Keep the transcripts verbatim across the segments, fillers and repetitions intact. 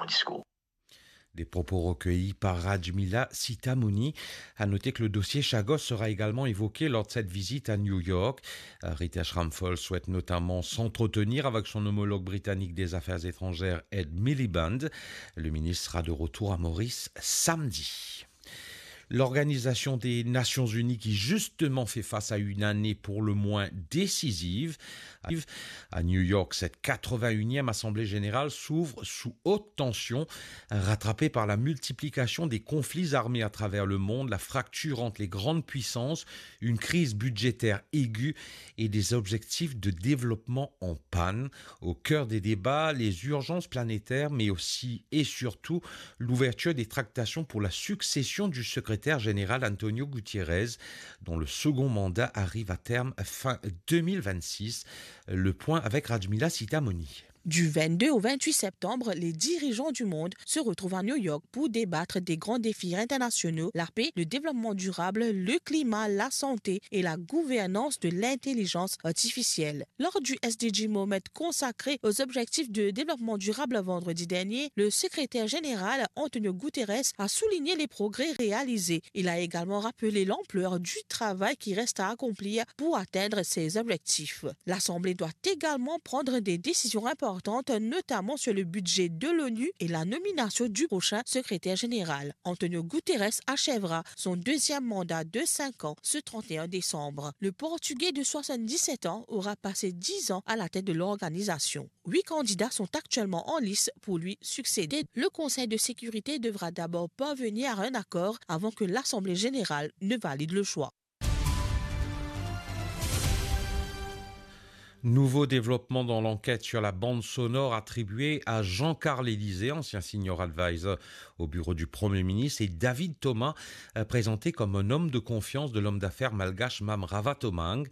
discours. Des propos recueillis par Rajmila Sitamouni. À noter que le dossier Chagos sera également évoqué lors de cette visite à New York. Euh, Ritesh Ramphal souhaite notamment s'entretenir avec son homologue britannique des Affaires étrangères, Ed Miliband. Le ministre sera de retour à Maurice samedi. L'Organisation des Nations Unies, qui justement fait face à une année pour le moins décisive, à New York, cette quatre-vingt-unième Assemblée générale s'ouvre sous haute tension, rattrapée par la multiplication des conflits armés à travers le monde, la fracture entre les grandes puissances, une crise budgétaire aiguë et des objectifs de développement en panne. Au cœur des débats, les urgences planétaires, mais aussi et surtout l'ouverture des tractations pour la succession du secrétaire général Antonio Guterres, dont le second mandat arrive à terme fin deux mille vingt-six. Le point avec Rajmila Sitamouni. Du vingt-deux au vingt-huit septembre, les dirigeants du monde se retrouvent à New York pour débattre des grands défis internationaux, la paix, le développement durable, le climat, la santé et la gouvernance de l'intelligence artificielle. Lors du S D G Moment consacré aux objectifs de développement durable vendredi dernier, le secrétaire général Antonio Guterres a souligné les progrès réalisés. Il a également rappelé l'ampleur du travail qui reste à accomplir pour atteindre ces objectifs. L'Assemblée doit également prendre des décisions importantes, notamment sur le budget de l'ONU et la nomination du prochain secrétaire général. Antonio Guterres achèvera son deuxième mandat de cinq ans ce trente et un décembre. Le Portugais de soixante-dix-sept ans aura passé dix ans à la tête de l'organisation. Huit candidats sont actuellement en lice pour lui succéder. Le Conseil de sécurité devra d'abord parvenir à un accord avant que l'Assemblée générale ne valide le choix. Nouveau développement dans l'enquête sur la bande sonore attribuée à Jean-Carl Élysée, ancien senior advisor au bureau du Premier ministre, et David Thomas, euh, présenté comme un homme de confiance de l'homme d'affaires malgache Mam Ravatomange.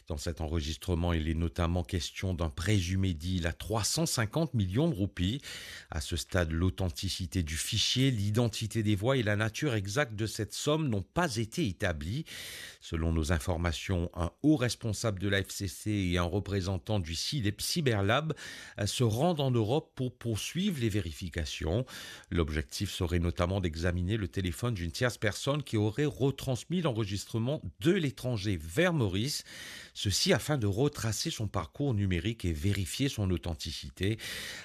Dans cet enregistrement, il est notamment question d'un présumé deal à trois cent cinquante millions de roupies. À ce stade, l'authenticité du fichier, l'identité des voix et la nature exacte de cette somme n'ont pas été établies. Selon nos informations, un haut responsable de la F C C et un représentant du Cyber-, Cyberlab, euh, se rendent en Europe pour poursuivre les vérifications. L'objectif serait notamment d'examiner le téléphone d'une tierce personne qui aurait retransmis l'enregistrement de l'étranger vers Maurice, ceci afin de retracer son parcours numérique et vérifier son authenticité.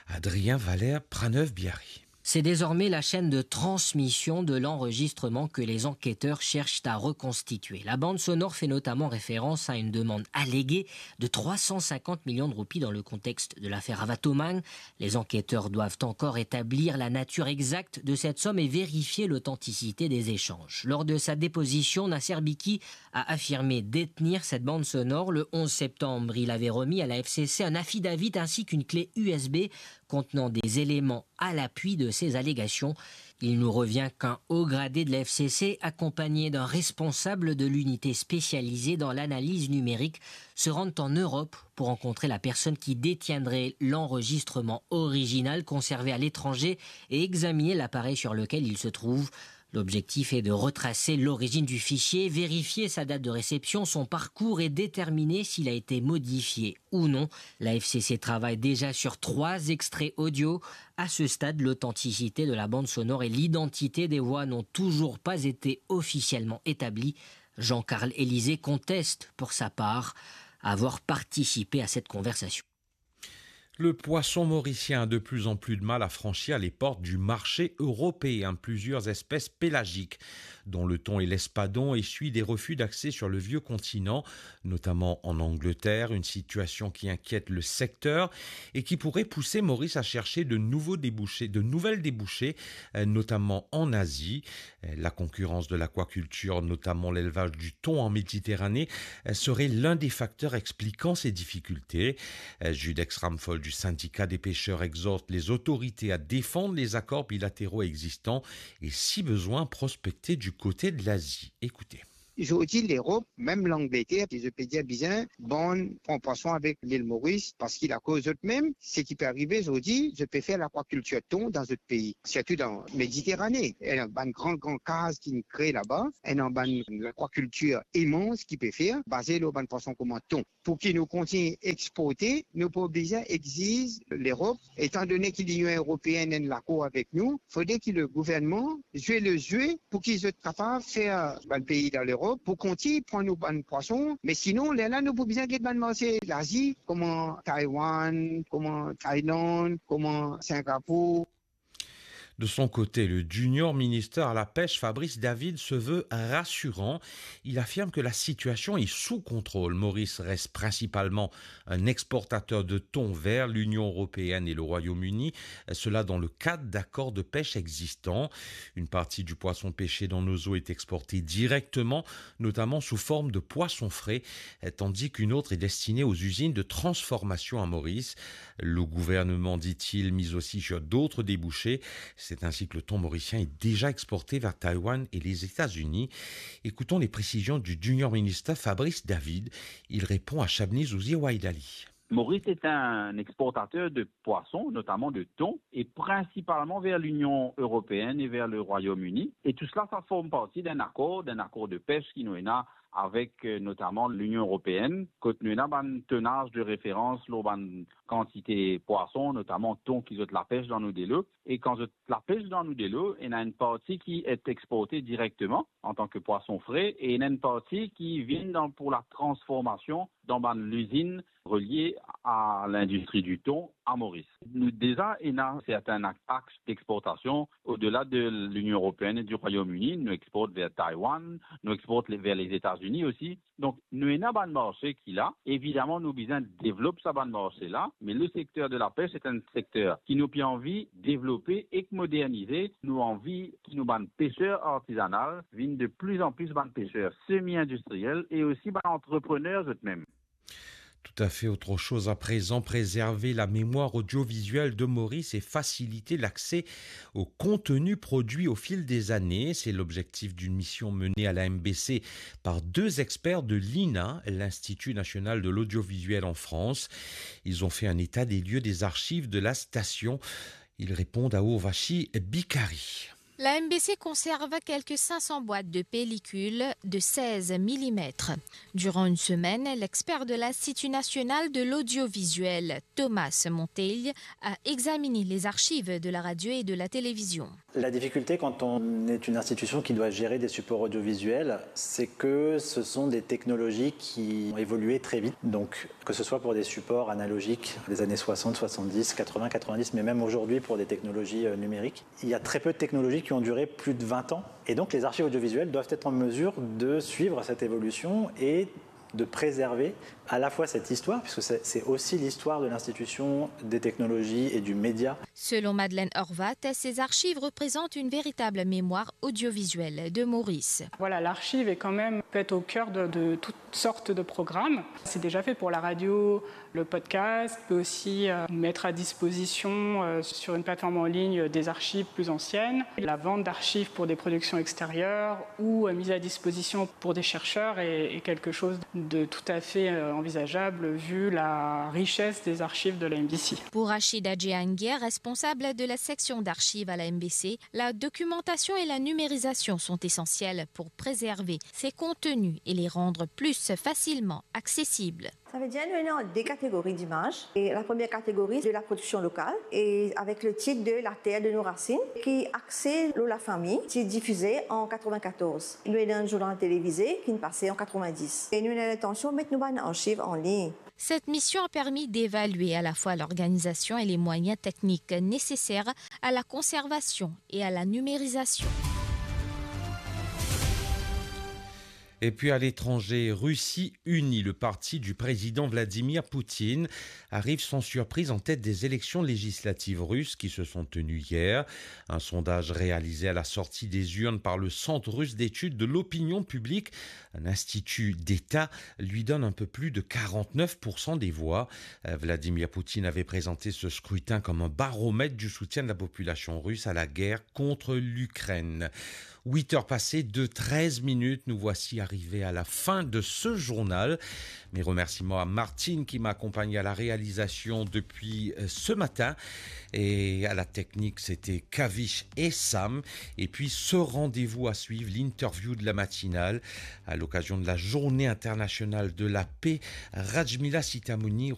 Adrien Valère, Praneuve Biari. C'est désormais la chaîne de transmission de l'enregistrement que les enquêteurs cherchent à reconstituer. La bande sonore fait notamment référence à une demande alléguée de trois cent cinquante millions de roupies dans le contexte de l'affaire Ravatomange. Les enquêteurs doivent encore établir la nature exacte de cette somme et vérifier l'authenticité des échanges. Lors de sa déposition, Nasser Biki a affirmé détenir cette bande sonore. Le onze septembre, il avait remis à la F C C un affidavit ainsi qu'une clé U S B contenant des éléments à l'appui de ces allégations. Il nous revient qu'un haut gradé de la F C C, accompagné d'un responsable de l'unité spécialisée dans l'analyse numérique, se rendent en Europe pour rencontrer la personne qui détiendrait l'enregistrement original conservé à l'étranger et examiner l'appareil sur lequel il se trouve. L'objectif est de retracer l'origine du fichier, vérifier sa date de réception, son parcours et déterminer s'il a été modifié ou non. La F C C travaille déjà sur trois extraits audio. À ce stade, l'authenticité de la bande sonore et l'identité des voix n'ont toujours pas été officiellement établies. Jean-Carl Élysée conteste, pour sa part, avoir participé à cette conversation. Le poisson mauricien a de plus en plus de mal à franchir les portes du marché européen. Plusieurs espèces pélagiques, dont le thon et l'espadon, essuient des refus d'accès sur le vieux continent, notamment en Angleterre, une situation qui inquiète le secteur et qui pourrait pousser Maurice à chercher de nouveaux débouchés, de nouvelles débouchées, euh, notamment en Asie. Euh, la concurrence de l'aquaculture, notamment l'élevage du thon en Méditerranée, euh, serait l'un des facteurs expliquant ces difficultés. Euh, Judex Ramphol du syndicat des pêcheurs exhorte les autorités à défendre les accords bilatéraux existants et, si besoin, prospecter du côté de l'Asie. Écoutez. Zordi Lerop, mem Langleter, zot pe dir bizin bann pran pwason avek Lil Moris, parski akoz zot mem, seki pe arive zordi, zot pe fer lakwakiltir ton dan zot pei, sirtou dan Mediterane. Ena bann gran, gran kaz ki'nn kre laba, ena bann lakwakiltir imans ki pe fer, baze lor bann pwason kouma ton. Pou ki nou kontign exporte, nou pa oblize exiz Lerop, etandone ki Linion Eropein ena lakor avek nou, fode ki le gouvernman zwe le zwe pou ki zot kapav fer bann pei dan Lerop pou kontign pran nou bann pwason, me sinon, lerla nou pou bizin get bann marse Lazi, kouma Taiwan, kouma Thailand, kouma Singapour. De son côté, le Junior Minister à la Pêche, Fabrice David, se veut rassurant. Il affirme que la situation est sous contrôle. Maurice reste principalement un exportateur de thon vers l'Union européenne et le Royaume-Uni, cela dans le cadre d'accords de pêche existants. Une partie du poisson pêché dans nos eaux est exportée directement, notamment sous forme de poisson frais, tandis qu'une autre est destinée aux usines de transformation à Maurice. Le gouvernement, dit-il, mise aussi sur d'autres débouchés. C'est ainsi que le thon mauricien est déjà exporté vers Taïwan et les États-Unis. Écoutons les précisions du Junior Minister Fabrice David. Il répond à Shabni Zouzi Waidali. Maurice est un exportateur de poissons, notamment de thon, et principalement vers l'Union européenne et vers le Royaume-Uni. Et tout cela, ça forme partie d'un accord, d'un accord de pêche ki nou ena avek, euh, notamment l'Union européenne, kot nou ena bann tonnaz de référence lor bann kantite pwason, notamment thon ki zot lapes dan nou delo. E kan zot lapes dan nou delo, ena enn parti ki est exporté directement en tant que poisson frais e ena enn parti ki vinn dan, pour la transformation dans bann lizinn relié à l'industrie du thon à Maurice. Nou deza ena serten axe d'exportation au-delà de l'Union européenne et du Royaume-Uni. Nou export vers Taïwan, nou export vers les États-Unis aussi. Donk, nou ena bann marse ki la. Evidaman, nou bizin devlop sa bann marse la, me le secteur de la pêche, c'est un secteur ki nou pe anvi devlope ek modernize. Nou anvi ki nou bann peser artizanal vinn de plus en plus bann peser semi-industriel e osi bann antreprener zot mem. Tout à fait. Autre chose à présent, préserver la mémoire audiovisuelle de Maurice et faciliter l'accès au contenu produit au fil des années. C'est l'objectif d'une mission menée à la M B C par deux experts de l'I N A, l'Institut national de l'audiovisuel en France. Ils ont fait un état des lieux des archives de la station. Ils répondent à Ourvashi Bikari. La M B C conserve quelques cinq cents boîtes de pellicule de seize millimètres. Durant une semaine, l'expert de l'Institut national de l'audiovisuel, Thomas Monteil, a examiné les archives de la radio et de la télévision. La difficulté quand on est une institution qui doit gérer des supports audiovisuels, c'est que ce sont des technologies qui ont évolué très vite. Donc, que ce soit pour des supports analogiques des années soixante, soixante-dix, quatre-vingts, quatre-vingt-dix, mais même aujourd'hui pour des technologies, euh, numériques, il y a très peu de technologies qui ont duré plus de vingt ans. Et donc, les archives audiovisuelles doivent être en mesure de suivre cette évolution et de préserver à la fois cette histoire, puisque c'est, c'est aussi l'histoire de l'institution, des technologies et du média. Selon Madeleine Horvat, ces archives représentent une véritable mémoire audiovisuelle de Maurice. Voilà, l'archive est quand même, peut être au cœur de, de toutes sortes de programmes. C'est déjà fait pour la radio, le podcast, peut aussi, euh, mettre à disposition, euh, sur une plateforme en ligne des archives plus anciennes. La vente d'archives pour des productions extérieures ou, euh, mise à disposition pour des chercheurs est, est quelque chose de tout à fait, euh, envisageable vu la richesse des archives de la M B C. Pour Rachida Djehangir, responsable de la section d'archives à la M B C, la documentation et la numérisation sont essentielles pour préserver ces contenus et les rendre plus facilement accessibles. Savedir nou ena de kategori dimaz. E la première catégorie de la production locale et avec le titre de La terre de nos racines, ki axe lor lafami, ti difize an quatre-vingt-quatorze. Nou ena enn zournal televize ki pase an quatre-vingt-dix. E nou ena lintansion met nou bann archiv an lign. Cette mission a permis d'évaluer à la fois l'organisation et les moyens techniques nécessaires à la conservation et à la numérisation. Et puis à l'étranger, Russie Unie, le parti du président Vladimir Poutine, arrive sans surprise en tête des élections législatives russes qui se sont tenues hier. Un sondage réalisé à la sortie des urnes par le Centre russe d'études de l'opinion publique, un institut d'État, lui donne un peu plus de quarante-neuf pour cent des voix. Euh, Vladimir Poutine avait présenté ce scrutin comme un baromètre du soutien de la population russe à la guerre contre l'Ukraine. Huit heures passées de treize minutes, nous voici arrivés à la fin de ce journal. Mes remerciements à Martine qui m'a accompagné à la réalisation depuis euh, ce matin. Et à la technique, c'était Kavish et Sam. Et puis ce rendez-vous à suivre, l'interview de la matinale, à l'occasion de la journée internationale de la paix. Rajmila Sitamouni